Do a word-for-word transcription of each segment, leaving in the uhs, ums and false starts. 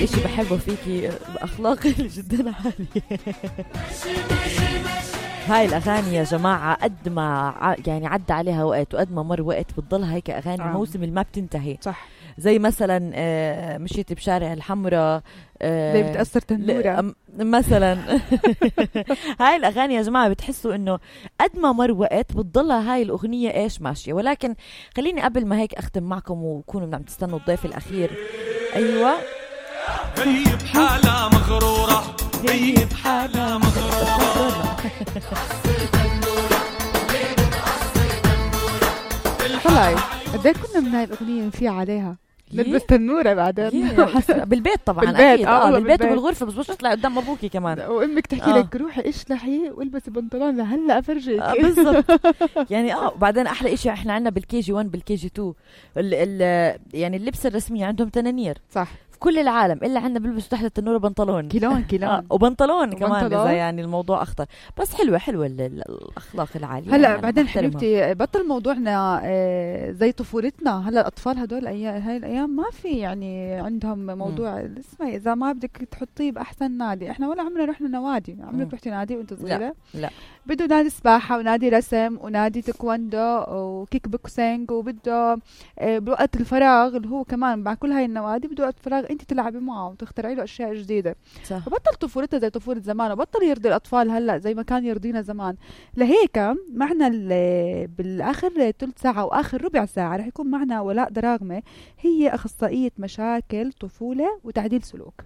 أكتر إشي بحبه فيكي أخلاقي جدا عالية. هاي الأغاني يا جماعة قد ما يعني عدى عليها وقت وقد ما مر وقت بتضلها هيك أغاني آه. موسم اللي ما بتنتهي. صح. زي مثلا آه مشيت بشارع الحمراء آه زي بتأثر تنورة مثلا. هاي الأغاني يا جماعة بتحسوا إنه قد ما مر وقت بتضلها هاي الأغنية إيش ماشية. ولكن خليني قبل ما هيك أختم معكم وكونوا عم تستنوا الضيف الأخير. أيوة هي بحالة مغرورة هي بحالة مغرورة. طلعي قديه كنا من هاي الأغنية نفيع عليها نلبس تنورة بعدين بالبيت طبعا بالبيت. أكيد آه بالبيت, بالبيت وبالغرفة بس مش تطلع قدام أبوكي كمان وأمك تحكي آه. لك روحي اشلحي والبسي بنطلون لهلا أفرجيك. آه بالضبط. يعني اه بعدين أحلى إشي إحنا عنا بالكي جي واحد بالكي جي اثنين ال ال يعني اللبس الرسمي عندهم تنانير صح في كل العالم إلا عنا بيلبسوا تحت التنورة بنطلون كيلون كيلون آه وبنطلون كمان وبنطلون. إذا يعني الموضوع أخطر. بس حلوة حلوة الأخلاق العالية. هلا يعني بعدين حبيبتي بطل موضوعنا آه زي طفولتنا. هلا الأطفال هدول أيام هاي الأيام ما في يعني عندهم موضوع اسمه إذا ما بدك تحطيه بأحسن نادي. إحنا ولا عمرنا رحنا نوادي. عمرك رحتي نادي وأنت صغيرة؟ لا, لا. بده نادي سباحة ونادي رسم ونادي تايكوندو وكيك بوكسينج وبده آه بوقت الفراغ اللي هو كمان مع كل هاي النوادي بده وقت فراغ أنت تلعبي معه وتخترعي له أشياء جديدة. صح. وبطل طفولتها زي طفولة زمان وبطل يرضي الأطفال هلا زي ما كان يرضينا زمان. لهيك معنا بالآخر ثلث ساعة وآخر ربع ساعة رح يكون معنا ولاء دراغمة. هي أخصائية مشاكل طفولة وتعديل سلوك.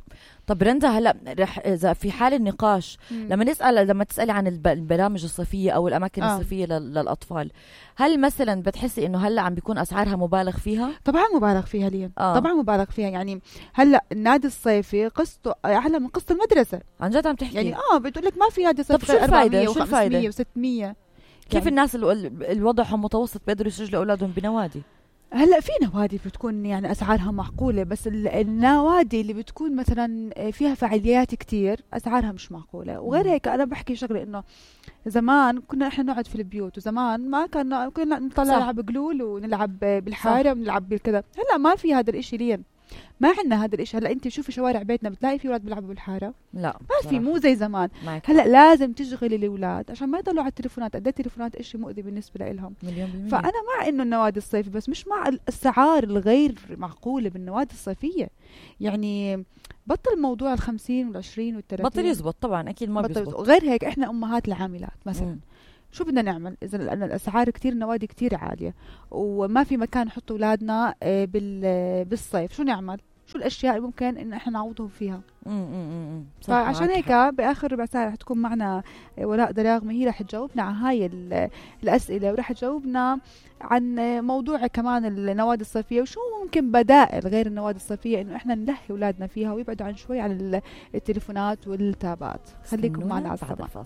طب رندا هلا رح اذا في حال النقاش مم. لما نسال لما تسالي عن البرامج الصيفيه او الاماكن آه. الصيفيه للاطفال هل مثلا بتحسي انه هلا عم بيكون اسعارها مبالغ فيها؟ طبعا مبالغ فيها لين آه. طبعا مبالغ فيها. يعني هلا النادي الصيفي قسطه اعلى من قسط المدرسه. عن جد عم تحكي؟ يعني اه بتقول لك ما في نادي صيفي. طب شو الفايده شو الفايده وستمية كيف يعني الناس الوضعهم متوسط بيقدروا يسجلوا اولادهم بنوادي؟ هلا في نوادي بتكون يعني اسعارها معقوله بس النوادي اللي بتكون مثلا فيها فعاليات كتير اسعارها مش معقوله. وغير هيك انا بحكي شغله انه زمان كنا احنا نقعد في البيوت وزمان ما كنا كنا نطلع نلعب قلول ونلعب بالحاره ونلعب بالكذا. هلا ما في هذا الاشي لين ما عندنا هذا الاشي. هلا انت شوفي شوارع بيتنا بتلاقي في اولاد بيلعبوا بالحاره؟ لا ما في. مو زي زمان. معك. هلا لازم تشغلي الاولاد عشان ما يضلوا على التليفونات. قد ايه التليفونات اشي مؤذي بالنسبه لهم. مليون بالمية. فانا مع انه النوادي الصيفي بس مش مع الاسعار الغير معقوله بالنوادي الصيفيه. يعني بطل موضوع الخمسين والعشرين والثلاثين بطل يزبط طبعا اكيد ما بيزبط. غير هيك احنا امهات العاملات مثلا م. شو بدنا نعمل اذا لان الاسعار كتير النوادي كتير عاليه وما في مكان نحط اولادنا بالصيف؟ شو نعمل؟ شو الاشياء اللي ممكن ان احنا نعوضهم فيها؟ امم فعشان هيك باخر ربع ساعه رح تكون معنا ولاء دراغمة. هي رح تجاوبنا على هاي الاسئله ورح تجاوبنا عن موضوع كمان النوادي الصيفيه وشو ممكن بدائل غير النوادي الصيفيه انه احنا نلهي اولادنا فيها ويبعدوا عن شوي عن التليفونات والتابات. خليكم معنا على السماء.